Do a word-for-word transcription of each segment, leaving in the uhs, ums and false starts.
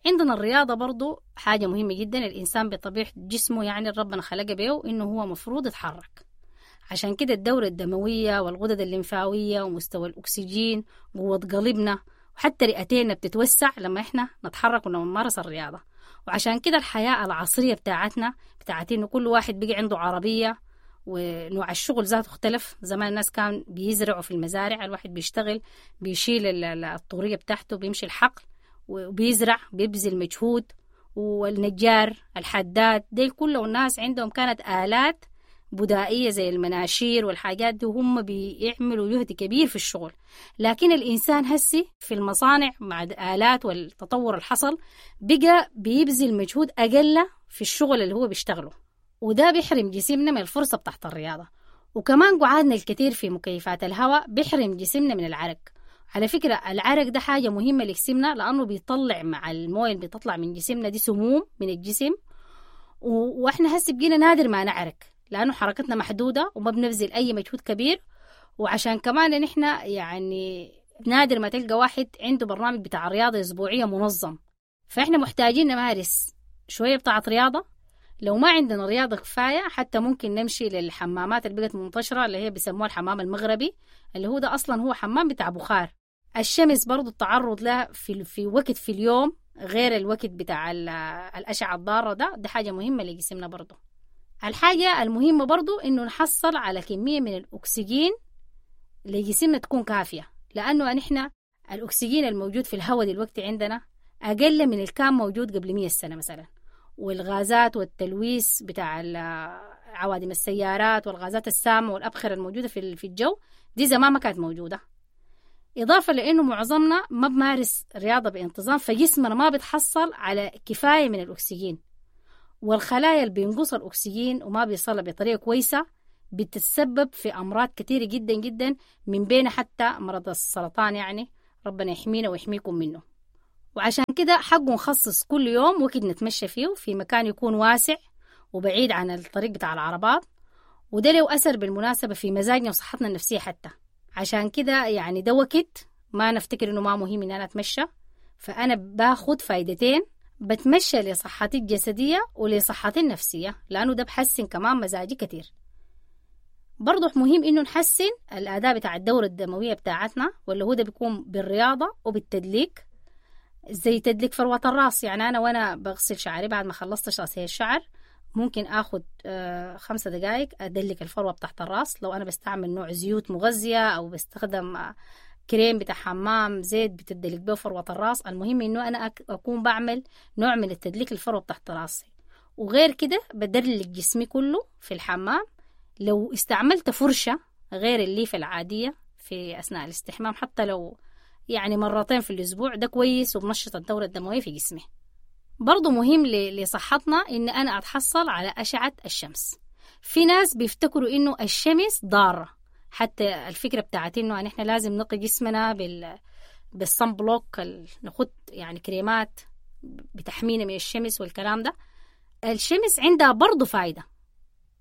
عندنا الرياضة برضو حاجة مهمة جدا. الإنسان بطبيعة جسمه يعني ربنا خلقه بيه إنه هو مفروض يتحرك، عشان كده الدورة الدموية والغدد الليمفاوية ومستوى الأكسجين قوة قلبنا وحتى رئتينا بتتوسع لما إحنا نتحرك ولما نمارس الرياضة. وعشان كده الحياة العصرية بتاعتنا بتاعت إنه كل واحد بقى عنده عربية ونوع الشغل ذاته اختلف. زمان الناس كان بيزرعوا في المزارع، الواحد بيشتغل بيشيل الطورية بتاعته بيمشي الحقل وبيزرع بيبذل مجهود، والنجار الحداد دي كله الناس عندهم كانت آلات بدائية زي المناشير والحاجات دي، وهم بيعملوا جهد كبير في الشغل. لكن الإنسان هسي في المصانع مع الآلات والتطور الحصل بقى بيبذل مجهود أقل في الشغل اللي هو بيشتغله، وده بيحرم جسمنا من الفرصة بتاعت الرياضة. وكمان قعادنا الكثير في مكيفات الهواء بيحرم جسمنا من العرق. على فكرة العرق ده حاجة مهمة لجسمنا، لأنه بيطلع مع المويه اللي بتطلع من جسمنا دي سموم من الجسم، وإحنا هسي بقينا نادر ما نعرق لأنه حركتنا محدودة وما بنبذل أي مجهود كبير. وعشان كمان نحن يعني نادر ما تلقى واحد عنده برنامج بتاع رياضة أسبوعية منظم، فإحنا محتاجين نمارس شوية بتاعة رياضة. لو ما عندنا رياضة كفاية حتى ممكن نمشي للحمامات اللي بقت منتشرة اللي هي بيسموها الحمام المغربي، اللي هو ده أصلا هو حمام بتاع بخار. الشمس برضو التعرض لها في, في وقت في اليوم غير الوقت بتاع الأشعة الضارة ده، ده حاجة مهمة لجسمنا برضو. الحاجة المهمة برضو إنه نحصل على كمية من الأكسجين لجسمنا تكون كافية، لأنه نحن الأكسجين الموجود في الهواء دلوقتي عندنا أقل من اللي كان موجود قبل مية سنة مثلا. والغازات والتلويث بتاع عوادم السيارات والغازات السامة والأبخرة الموجودة في الجو دي زمان ما كانت موجودة. إضافة لأنه معظمنا ما بمارس رياضة بانتظام، فجسمنا ما بتحصل على كفاية من الأكسجين، والخلايا اللي بينقص الأكسجين وما بيصلها بطريقة كويسة بتتسبب في أمراض كثيرة جدا جدا، من بين حتى مرض السرطان، يعني ربنا يحمينا ويحميكم منه. وعشان كده حقه نخصص كل يوم وقت نتمشى فيه في مكان يكون واسع وبعيد عن الطريق بتاع العربات، وده له أثر بالمناسبة في مزاجنا وصحتنا النفسية حتى. عشان كده يعني ده وقت ما نفتكر إنه ما مهم إن أنا أتمشى، فأنا باخد فايدتين، بتمشى لصحتي الجسدية ولصحتي النفسية، لأنه ده بحسن كمان مزاجي كتير. برضو مهم إنه نحسن الأداء بتاع الدورة الدموية بتاعتنا، واللي هو ده بيكون بالرياضة وبالتدليك، زي تدليك فروة الراس. يعني أنا وأنا بغسل شعري بعد ما خلصت غسيل الشعر ممكن أخد خمسة دقايق أدلك الفروة بتاعت الراس، لو أنا بستعمل نوع زيوت مغذية أو بستخدم كريم بتاع حمام زيت بتدلك به فروة الراس. المهم إنه أنا أكون بعمل نوع من التدليك الفروة بتاعت راسي. وغير كده بدلك جسمي كله في الحمام. لو استعملت فرشة غير الليفة العادية في أثناء الاستحمام حتى لو يعني مرتين في الأسبوع ده كويس، وبنشط الدورة الدموية في جسمي. برضو مهم لصحتنا إن أنا أتحصل على أشعة الشمس. في ناس بيفتكروا إنه الشمس ضارة، حتى الفكرة بتاعت إنه نحن لازم نقي جسمنا بال بال sunblock، نخد يعني كريمات بتحمينا من الشمس والكلام ده. الشمس عندها برضو فايدة،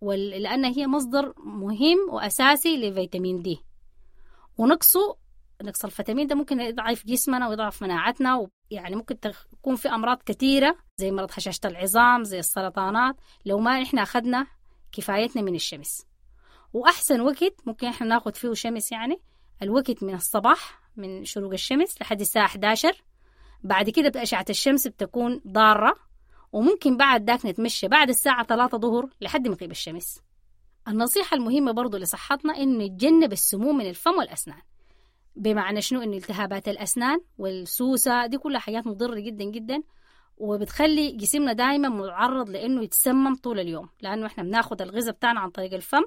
لأن هي مصدر مهم وأساسي لفيتامين دي، ونقصه نقص الفيتامين ده ممكن يضعف جسمنا ويضعف مناعتنا، ويعني ممكن تكون في أمراض كثيرة زي مرض هشاشة العظام، زي السرطانات، لو ما إحنا أخذنا كفايتنا من الشمس. وأحسن وقت ممكن إحنا ناخد فيه شمس يعني الوقت من الصباح من شروق الشمس لحد الساعة إحدى عشر. بعد كده أشعة الشمس بتكون ضارة، وممكن بعد ذاك نتمشى بعد الساعة ثلاثة ظهر لحد مغيب الشمس. النصيحة المهمة برضو لصحتنا إنه نتجنب السموم من الفم والأسنان. بمعنى شنو؟ إن التهابات الأسنان والسوسة دي كلها حاجات مضرة جدا جدا، وبتخلي جسمنا دايما معرض لأنه يتسمم طول اليوم، لأنه إحنا بناخد الغذاء بتاعنا عن طريق الفم،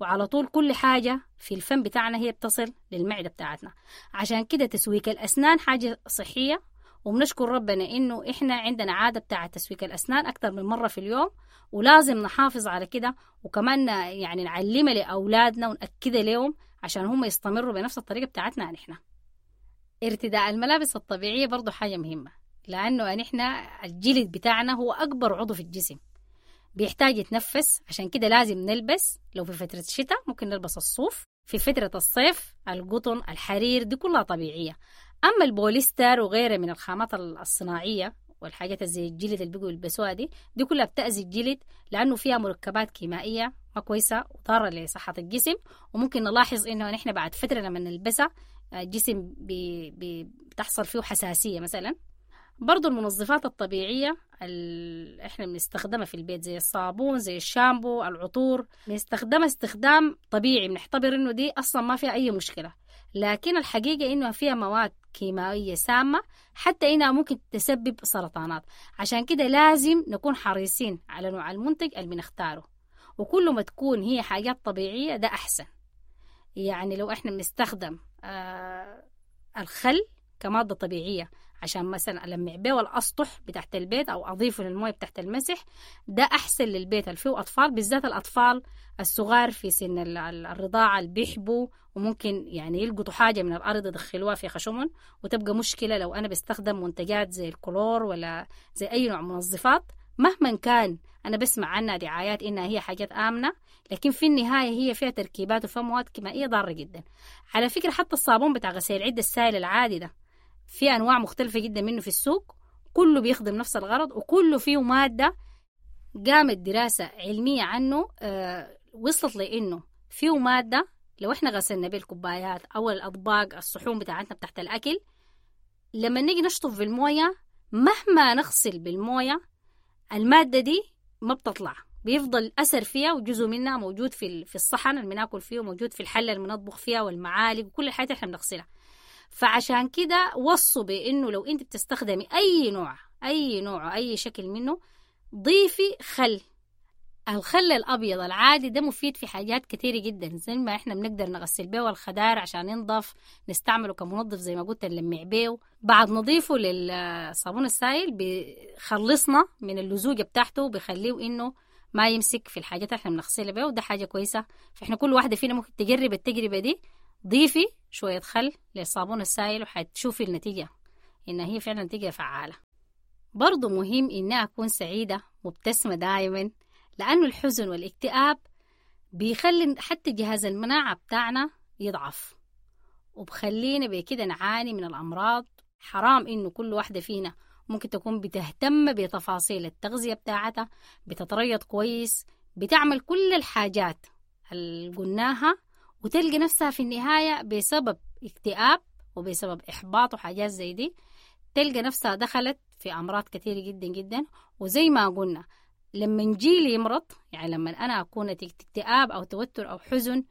وعلى طول كل حاجة في الفم بتاعنا هي بتصل للمعدة بتاعتنا. عشان كده تسويك الأسنان حاجة صحية، وبنشكر ربنا إنه إحنا عندنا عادة بتاعة تسويك الأسنان أكتر من مرة في اليوم، ولازم نحافظ على كده، وكمان يعني نعلمها لأولادنا ونأكدها لهم عشان هم يستمروا بنفس الطريقة بتاعتنا نحن. ارتداء الملابس الطبيعية برضو حاجة مهمة، لأنه نحن الجلد بتاعنا هو أكبر عضو في الجسم، بيحتاج يتنفس، عشان كده لازم نلبس. لو في فترة الشتاء ممكن نلبس الصوف، في فترة الصيف القطن، الحرير، دي كلها طبيعية. أما البوليستر وغيره من الخامات الصناعية والحاجات زي الجلد اللي بيقوا يلبسوها دي دي كلها بتأذي الجلد، لأنه فيها مركبات كيميائية ما كويسة وضارة لصحة الجسم. وممكن نلاحظ إنه نحن بعد فترة لما نلبسها الجسم بي بي بتحصل فيه حساسية مثلا. برضو المنظفات الطبيعية اللي احنا بنستخدمها في البيت زي الصابون، زي الشامبو، العطور، بنستخدمها استخدام طبيعي، بنعتبر انه دي اصلا ما فيها اي مشكلة، لكن الحقيقة انه فيها مواد كيماوية سامة حتى انها ممكن تسبب سرطانات. عشان كده لازم نكون حريصين على نوع المنتج اللي بنختاره، وكل ما تكون هي حاجات طبيعية ده احسن. يعني لو احنا بنستخدم آه الخل كمادة طبيعية عشان مثلا ألمع بيه الأسطح بتاعت البيت أو أضيفه للموية بتاعت المسح، ده أحسن للبيت اللي فيه أطفال، بالذات الأطفال الصغار في سن الرضاعة اللي بيحبوا وممكن يعني يلقطوا حاجة من الأرض يدخلوها في خشمهم وتبقى مشكلة. لو أنا بستخدم منتجات زي الكلور ولا زي أي نوع منظفات مهما كان أنا بسمع عنها دعايات إنها هي حاجات آمنة، لكن في النهاية هي فيها تركيبات وفيها مواد كيميائية ضارة جدا. على فكرة حتى الصابون بتاع غسيل العدة السائل العادي ده في أنواع مختلفة جدا منه في السوق، كله بيخدم نفس الغرض وكله فيه مادة قامت دراسة علمية عنه آه وصلت لإنه فيه مادة لو إحنا غسلنا بيه الكوبايات أو الأطباق الصحون بتاعتنا بتاعت الأكل، لما نيجي نشطف بالموية مهما نغسل بالموية المادة دي ما بتطلع، بيفضل أثر فيها وجزء منها موجود في في الصحن اللي بناكل فيه، وموجود في الحلة اللي بنطبخ فيها والمعالق وكل الحاجات اللي إحنا بنغسلها. فعشان كده وصوا بإنه لو أنت بتستخدمي أي نوع أي نوع أي شكل منه ضيفي خل. الخل الأبيض العادي ده مفيد في حاجات كتيرة جدا، زي ما إحنا بنقدر نغسل بيه الخضار عشان ينضف، نستعمله كمنظف زي ما قلت نلمع بيه، بعد نضيفه للصابون السائل بيخلصنا من اللزوجة بتاعته، بيخليه إنه ما يمسك في الحاجات اللي إحنا بنغسلها بيه، وده حاجة كويسة. فإحنا كل واحدة فينا ممكن تجرب التجربة دي، ضيفي شوية خل للصابون السائل وحتشوفي النتيجة إن هي فعلا نتيجة فعالة. برضو مهم إني أكون سعيدة مبتسمة دائما، لأنه الحزن والاكتئاب بيخلي حتى جهاز المناعة بتاعنا يضعف، وبخلينا بكده نعاني من الأمراض. حرام إنه كل واحدة فينا ممكن تكون بتهتم بتفاصيل التغذية بتاعتها، بتتريض كويس، بتعمل كل الحاجات اللي قلناها، وتلقى نفسها في النهاية بسبب اكتئاب وبسبب إحباط وحاجات زي دي تلقى نفسها دخلت في أمراض كثيرة جدا جدا. وزي ما قلنا لما جيلي يمرض، يعني لما أنا أكون نتيجة اكتئاب أو توتر أو حزن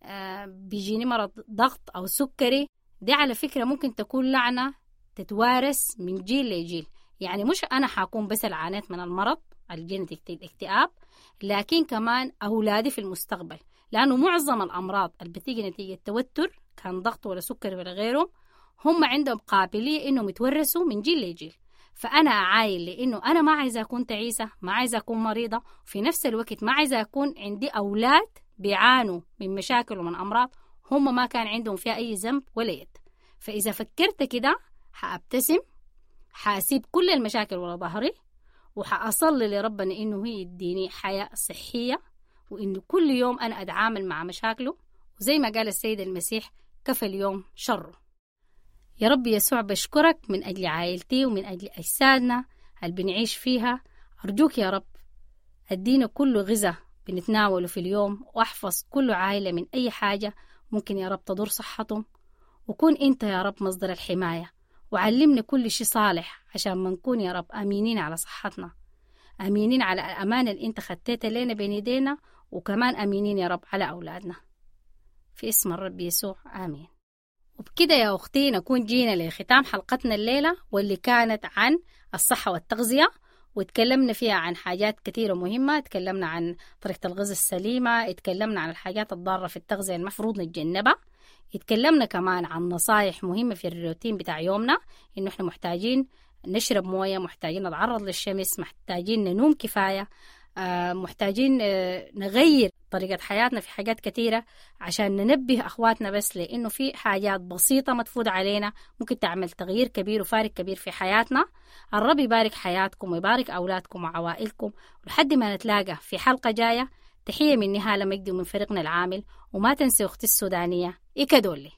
آه بيجيني مرض ضغط أو سكري، دي على فكرة ممكن تكون لعنة تتوارث من جيل لجيل. يعني مش أنا حكون بس العانيت من المرض الجيل نتيجة الاكتئاب، لكن كمان أولادي في المستقبل، لأنه معظم الأمراض اللي بتيجي نتيجة توتر كان ضغط ولا سكر ولا غيره هم عندهم قابلية إنهم يتورثوا من جيل لجيل. فأنا أعاين لأنه أنا ما عايزة أكون تعيسة، ما عايزة أكون مريضة، في نفس الوقت ما عايزة أكون عندي أولاد بيعانوا من مشاكل ومن أمراض هم ما كان عندهم فيها أي ذنب ولا يد. فإذا فكرت كده حأبتسم، حأسيب كل المشاكل ورا ظهري، وحأصلي لربنا إنه هي يديني حياة صحية، وإنه كل يوم أنا أتعامل مع مشاكله، وزي ما قال السيد المسيح كفى اليوم شره. يا رب يسوع بشكرك من أجل عائلتي ومن أجل أجسادنا اللي بنعيش فيها. أرجوك يا رب أدينا كل غذاء بنتناوله في اليوم، وأحفظ كل عائلة من أي حاجة ممكن يا رب تضر صحتهم، وكون أنت يا رب مصدر الحماية، وعلمنا كل شيء صالح عشان ما نكون يا رب أمينين على صحتنا، أمينين على الأمانة اللي أنت خدتها لنا بين يدينا، وكمان أمينين يا رب على أولادنا. في اسم الرب يسوع آمين. وبكده يا أختي نكون جينا لختام حلقتنا الليلة، واللي كانت عن الصحة والتغذية، وتكلمنا فيها عن حاجات كثيرة مهمة. تكلمنا عن طريقة الغذاء السليمة، اتكلمنا عن الحاجات الضارة في التغذية المفروض نتجنبها، اتكلمنا كمان عن نصايح مهمة في الروتين بتاع يومنا، إنه إحنا محتاجين نشرب موية، محتاجين نتعرض للشمس، محتاجين ننوم كفاية، محتاجين نغير طريقة حياتنا في حاجات كثيرة عشان ننبه أخواتنا بس لأنه في حاجات بسيطة متفوت علينا ممكن تعمل تغيير كبير وفارق كبير في حياتنا. الرب يبارك حياتكم ويبارك أولادكم وعوائلكم، ولحد ما نتلاقى في حلقة جاية، تحية من نهالة مجدي ومن فريقنا العامل، وما تنسي أختي السودانية إيكادولي.